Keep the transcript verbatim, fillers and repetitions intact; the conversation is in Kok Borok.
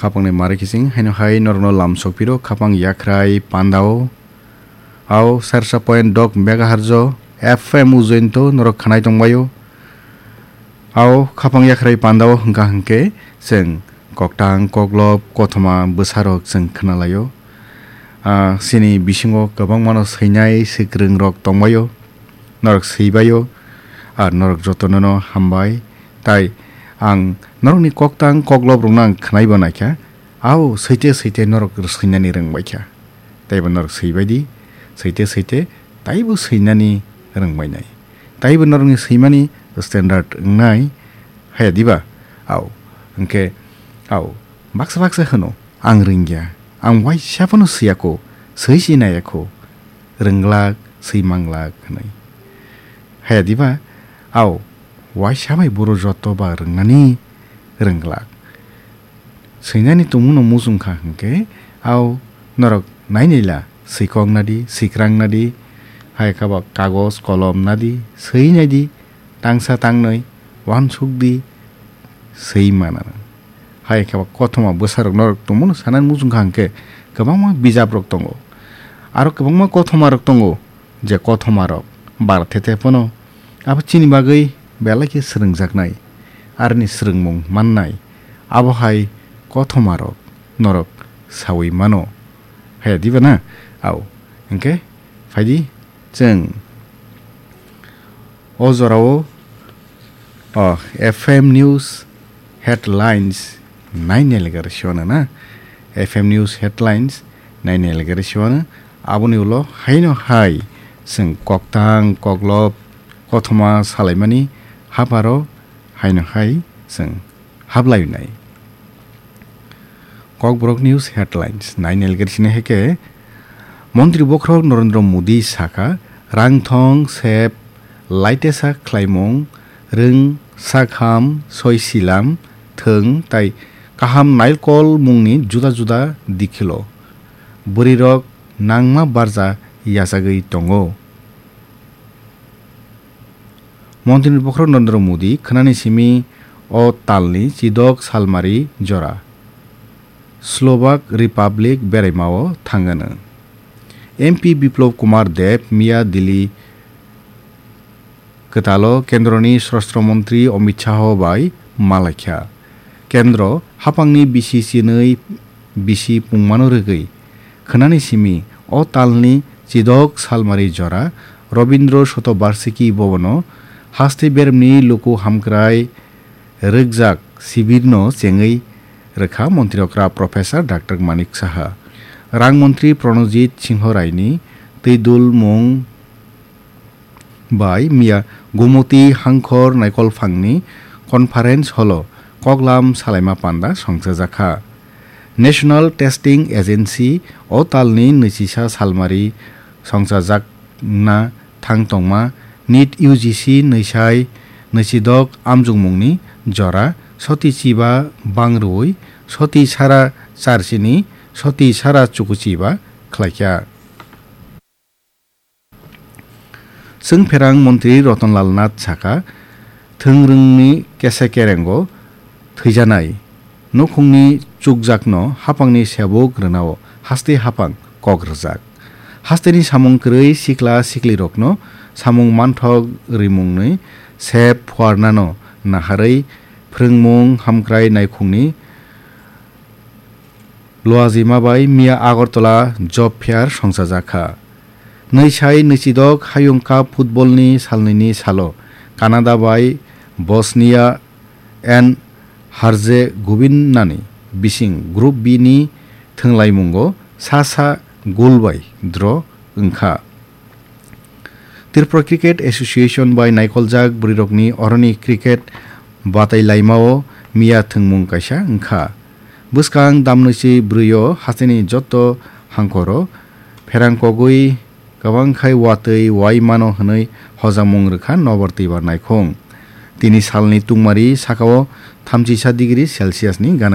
Khapangni mari kising haino hai norokno lam sokphiro khapang yakhrai pandao. Au sersa point dok megahertz o F M ujointo norok khanai tongbaio. Au khapang yakhrai pandao hwnkha hwnkhe chwng koktang koklop kothoma bwsarok chwng khnalaio. Ah, chini bisingo kwbangmano swinai swkrongrok tongbaio. Norok swibaio, ar norok jotonono hambai. Tai ang norokni koktang koklop rokno ang khnaibo naikha. Au, swite swite norok swinani rwngbaikha. Taibo norok swibaidi, swite swite taibo swinani rwngbainai. Taibo norokni swimani standard wngnai, haya diba? Au, hwnkhe, au, baksa baksa hwno, "Ang rwngya, ang waisa phano swiyakho, swi si naiyakho, rwnglak, swi manglak," hwnwi. Haya diba? Au, waisa bai boro joto ba rwngnani rwnglak. Swinani tongmungno muchungkha hwnkhe, au norok nainaila, swikok nadi, swikrang nadi, hai khe ba kagoj kolom nadi, swi naidi, tangsa tangnwi, uansuk di, swi mana. Hai khe ba kothoma bwsarok norok tongmungno sanani muchungkha hwnkhe, kwbangma bijaprok tongo. Aro kwbangma kothomarok tongo, je kothomarok bar the the phano abo chini bagwi belai khe swrwngjaknai, aroni swrwngmung mannai, abo hai kothomarok norok saui mano. Haya diba na? Au, hwnkhe phaidi chwng o jorao, o, F M News Headlines nainai legari siwano na. F M News Headlines nainai legari siwano. Aboni ulo haino hai chwng koktang koklop kothoma salaimani haparo haino hai chwng hablainai. Kokborok News Headlines nainai legari sini hai khe, Montri Bokhorok Narendra Modi sakha, rangthong sep laitesa khlaimung rwng sakham soi silam thwng tai kaham nailkol mungni juda juda dikhilo bwrwirok nangma barja yachagwi tongo. Montri ni Bokhorok Narendra Modi khwnani simi o talni chidok salmari jora Slovak Republic beraimao thangano. M P Biplab Kumar Deb miya Delhi kwtalo Kendroni Swrastra Montri Amit Shah bai malaikha. Kendro haphangni bisi chinwi bisi pungmano rwgwi khwnani simi o talni chidok salmari jora Robindro Shotobarshiki Bhabono haste beremni luku hamkrai rwkjak sibirno chengwi rwkha Montri okra Professor Doctor Manik Saha. Rang Montri Pranojit Singho Raini twi dulmung bai miya Gumoti Hangkhor Naikolphangni Conference Hall-o koklam salaima panda songchajakha. National Testing Agency o talni nwichisa salmari songchajakna thang tongma NEET U G C nwisai nwichidok amjokmungni jora soti chiba bang rwui soti sara charchini soti sara chukuchiba khlaikha. Chwngpherang Montri Rotonlal Nath sakha, thwngrwngni kese kerengo thwijanai nukhungni chukjakno haphangni sebuk rwnao haste haphang kok rwjak. Hasteni samung kwrwi sikla siklirokno samung manthok rimungni sep phuarnano naharwi phrwngmung hamkrai naikhungni Luajima bai miya Agartala job fair songchajakha. Nwisai nwichidok Hayung Cup football ni salnwini salo Canada bai Bosnia and Herzegovina ni bising Group B ni thwnglaimungo sa sa goal bai draw wngkha. Tripura Cricket Association bai naikoljak bwrwirokni oroni cricket batai laimao miya thwngmung kaisa wngkha. Bwskang damnwisi bwrwio hasteni joto hangkoro pherang kogwi kwbang khai watwi wai mano hwnwi hojamung rwkha Nobar Twibar naikhung. Tini salni tungmari sakao thamchisa degree Celsius ni gana